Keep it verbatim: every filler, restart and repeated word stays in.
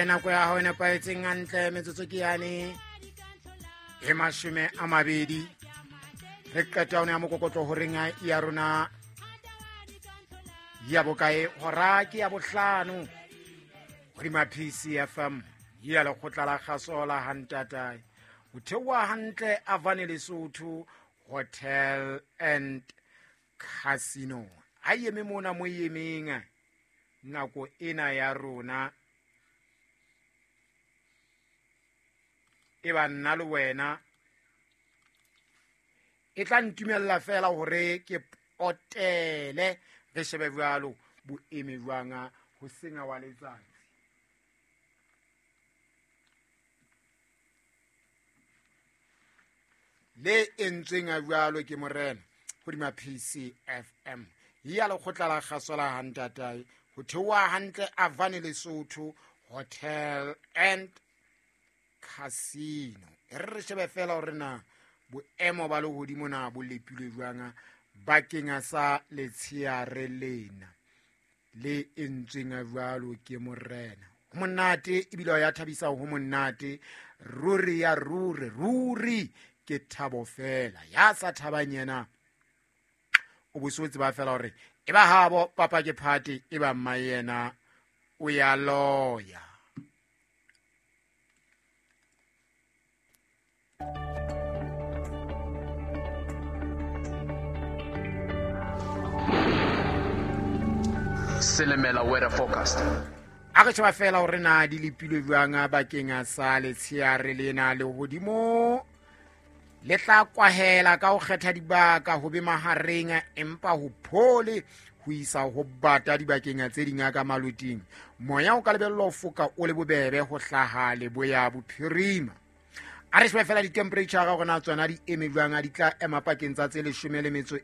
Nako ya hao e nepahetseng hantle, metsotso ke yane e mashome a mabedi. Re qeta hona ya mokokotlo horeng ya rona ya bokae, hora ke ya bohlano hodima P C F M ya lekgotla la kgaso la Hantatae. Ho theoha hantle Avane Lesotho Hotel and Casino. Ha eme mona mo emeng nako ena ya rona e ba nna le wena e tla ntumella fela hore ke potele re shebe jwalo boeme jwang ho senga wa letsatsi. Le entsweng a jwalo ke morena hodima P C F M ya lekgotla la kgaso la Hantatae. Ho theoha hantle Avane Lesotho Hotel and Casino. E re re shebe fela hore na boemo ba lehodimo na bo lepilwe jwang bakeng sa letsheare lena le entsweng jwalo ke morena. Ho monate ebile ya thabisa, ho monate ruri ya ruri ruri ke thabo fela. Ya sa thabang yena o bo so tseba fela hore e ba habo papa ke party, e ba mma yena o ya loya. Silimela weather forecast. A re sheba fela hore na di lepilwe jwang bakeng sa letsheare lena lehodimo le tla kwahela ka ho kgetha dibaka ho be mahareng, empa ho phole ho isa ho bata dibakeng tse ding ka maloting. Moya o ka lebellwa ho foka o le bobebe ho hlaha leboya bophirima. A re shebe fela di-temperature hore na tsona di eme jwang, di tla ema pakeng tsa tse leshome le metso